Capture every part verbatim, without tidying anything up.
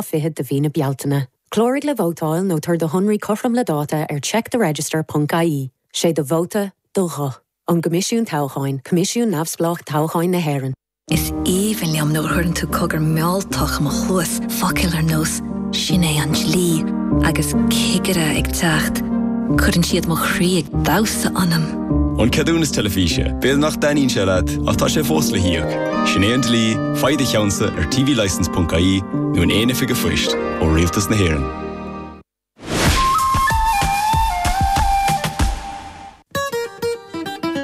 fichead de mhí na Bealtaine. Cláraigh le vótáil nó tabhair do shonraí cothrom le dáta ar checktheregister.ie, sé do vóta do ghuth. Ón gCoimisiún Toghcháin, Coimisiún Neamhspleách Toghcháin na hÉireann. Is aoibhinn liom nuair a chuireann tú cogar mealltach i mo chluas focail ar nós sin é an dlí agus cigire ag teacht. Cuireann siad mo chroí ag damhsa ionam. An ceadúnas teilifíse, B'fhéidir nach dtaitníonn sé leat ach tá sé fós le híoc. Sin é an dlí, faigh do cheannsa ar tvlicence.ie nó in aon oifig phoist ó Rialtas na hÉireann.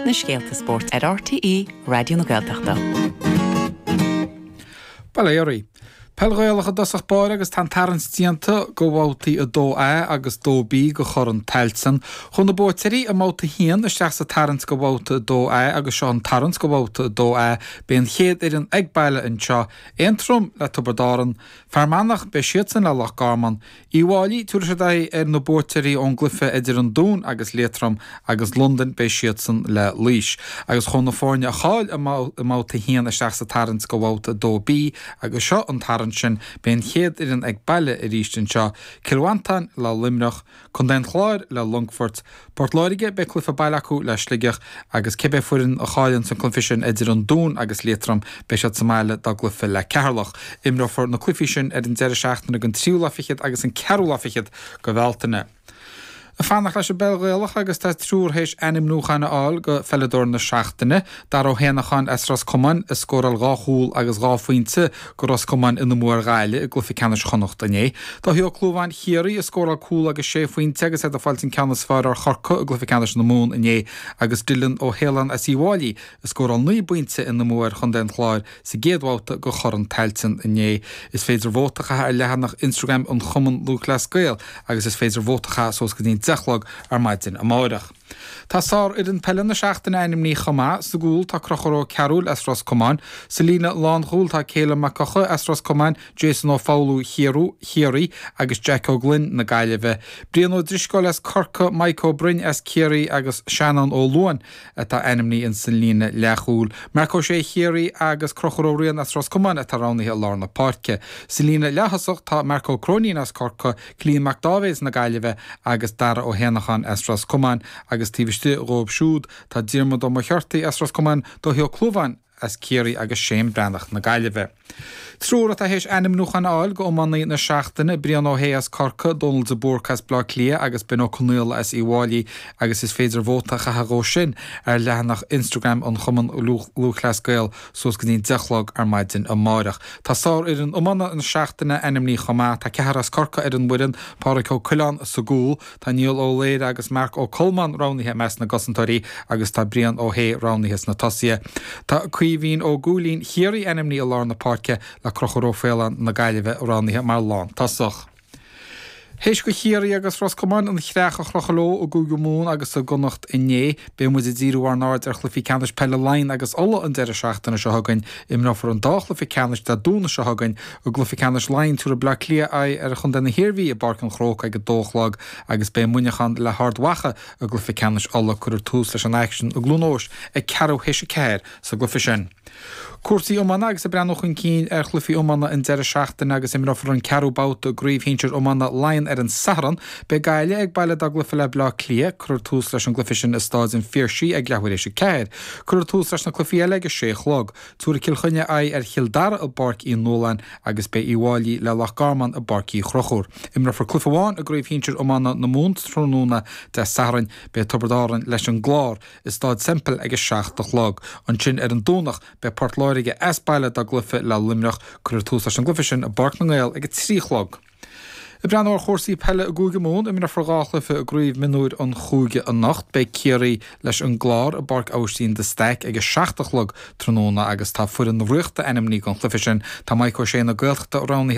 Na scéalta spóirt ar RTÉ Raidió na Gaeltachta. Bail ó Dhia oraibh. Peil Ghaelach i dtosach báire agus tá an tarraingt déanta go bhabhtaí a dó A agus dó B go Chorn Tailteann. Chuaigh na buaiteoirí i mbabhta a haon isteach sa tarraingt go bhabhta a dó A agus seo an tarraingt go bhabhta a dó A. Beidh an chéad fhoireann ag baile anseo, Aontroim le Tiobraid Árann, Fear Manach, beidh siadsan le Loch Garman, Uíbh Fhailí, tabharfaidh siad aghaidh ar na buaiteoirí ón gcluiche idir an Dún agus Liatroim agus Londain, beidh siadsan le Laois. Agus chuaigh na foirne a chaill i mbabhta a haon isteach sa tarraingt go bhabhta a dó B agus seo an tarraingt sin, beidh an chéad fhoireann ag baile arís anseo, Cill Mhantáin le Luimneach, Contae an Chláir le Longfort, Port Láirge, beidh cluiche baile acu le Sligeach agus cibé foireann a chailleann san cluiche sin idir an Dún agus Liatroim, beidh siad sa mbaile dá gcluiche le Ceatharlach. Imreofar na cluichí sin ar an deireadh seachtaine den tríú lá fichead agus an ceathrú lá fichead de Bhealtaine. Ag fanacht leis an bpeil Ghaelach agus tá triúr théis ainmniúcháin a fháil go pheileadóir na seachtaine, Dara Ó hÉanacháin as Ros Comáin a scóráil dhá chúl agus dhá phointe go Ros Comáin ina mbua ar Ghaillimh i gcluiche ceannais Chonnacht inné. Dáithí Ó Clúmháin Chiarraí a scóráil cúl agus sé phointe agus é ag fáilt an ceann is fearr ar Chorcaigh i gcluiche ceannais na Mumhan inné agus Dylan Ó hAoláin as Uíbh Fhailí a scóráil naoi bpointe ina mbua ar Chontae an Chláir sa gcéad bhabhta go Chorn Tailteann inné. Is féidir vóta a chaitheamh ar leathanach Instagram an Chumann Lúthchleas Gael agus is féidir vóta a chaitheamh suas go dtí an deich a chlog ar maidin amárach. Tá sárfhoireann peile na seachtaine ainmnithe chomh maith. Sa gcúl tá Conchúr Ó Cearúil as Ros Comáin. Sa líne lánchúil tá Calum Mac Eochaidh as Ros Comáin, Jason Ó Foghlú Chiarraí agus Jack Ó Gloinn na Gaillimhe. Brian Ó Drisceoil as Corcaigh, Mike Ó Broin as Ciarraí agus Seanán Ó Luain atá ainmnithe ins an líne leathchúil. Marc Ó Sé Chiarraí agus Conchúr Ó Riain as Ros Comáin atá roghnaithe i lár na páirce. Sa líne leath-thosach tá Marc Ó Cróinín as Corcaigh, Cillian Mac Dáibhéid na Gaillimhe agus Dara Ó hÉanacháin as Ros Comáin agus taobh istigh dhóibh siúd tá Diarmuid Ó Muircheartaigh as Ros Comáin, Dáithí Ó Clúmháin as Ciarraí agus Shane Breathnach na Gaillimhe. Triúr atá théis ainmniúchán a fháil go iománaí na seachtaine, Brian Ó hAodha as Corcaigh, Dónal de Búrca as Bleá Cliath agus Ben Ó Conaola as Uíbh Fhailí agus is féidir vóta a chaitheamh dhó sin ar leathanach Instagram an Chumann Lúthchleas Gael suas go dtí an deich a chlog ar maidin amárach. Tá sárfhoireann iomána na seachtaine ainmnithe chomh maith. Tá ceathrar as Corcaigh ar an bhfoireann, Pádraig Ó Coileáin sa gcúl, tá Niall Ó Laoire agus Marc Ó Colmáin roghnaithe i measc na gcosantóirí agus tá Brian Ó hAodha roghnaithe sna tosaithe. Tá Caoimhín Ó Gúilín Chiarraí ainmnithe i lár na páirce le Conchúr Ó Faoláin na Gaillimhe roghnaithe mar lántosach. Théis go Chiarraí agus Ros Comáin an chreach a chrochadh leo i gCúige Mumhan agus i gConnacht inné, beidh muid ag díriú ár n-aird ar chluichí ceannais peile Laighean agus Uladh an deireadh seachtaine seo chugainn. Imreofar an dá chluiche ceannais Dé Domhnaigh seo chugainn. I gcluiche ceannais Laighean, tabharfaidh Bleá Cliath aghaidh ar Chontae na hIarmhí i bPáirc an Chrócaigh ag a dó a chlog agus beidh Muineachán le hArd Mhacha i gcluiche ceannais Uladh. Cuirfear tús leis an aicsean i gCluain Eois ag ceathrú théis a ceathair sa gcluiche sin. Cúrsaí iomána agus ag breathnú chun cinn ar chluichí iomána an deireadh seachtaine agus imreofar an ceathrú babhta i gCraobh Shinsir Iomána Laighean ar an Satharn. Beidh Gaillimh ag baile dá gcluiche le Bleá Cliath. Cuirfear tús leis an gcluiche sin i Stáid an Phiarsaigh ag leathuair éis a ceathair. Cuirfear tús leis na cluichí eile ag a sé a chlog. Tabharfaidh Cill Chainnigh aghaidh ar Chill Dara i bPáirc Uí Nualláin agus beidh Uíbh Fhailí le Loch Garman i bPáirc Uí Chonchúir. Imreofar cluiche amháin i gCraobh Shinsir Iomána na Mumhan tráthnóna Dé Sathairn. Beidh Tiobraid Árann leis an gClár i Stáid Semple ag a seacht a chlog. Ansin ar an Domhnach beidh Port Láirge as baile dá gcluiche le Luimneach. Cuirfear tús leis an gcluiche sin i bPáirc na nGael ag a trí a chlog. Ag breathnú ar chúrsaí peile i gCúige Mumhan, imreofar dhá chluiche i gcraobh mionúir an chúige anocht. Beidh Ciarraí leis an gClár i bPáirc Aibhistín de Staic ag a seacht a chlog tráthnóna agus tá foireann na Ríochta ainmnithe don chluiche sin. Tá Mike O'Shea na Gaeltachta roghnaithe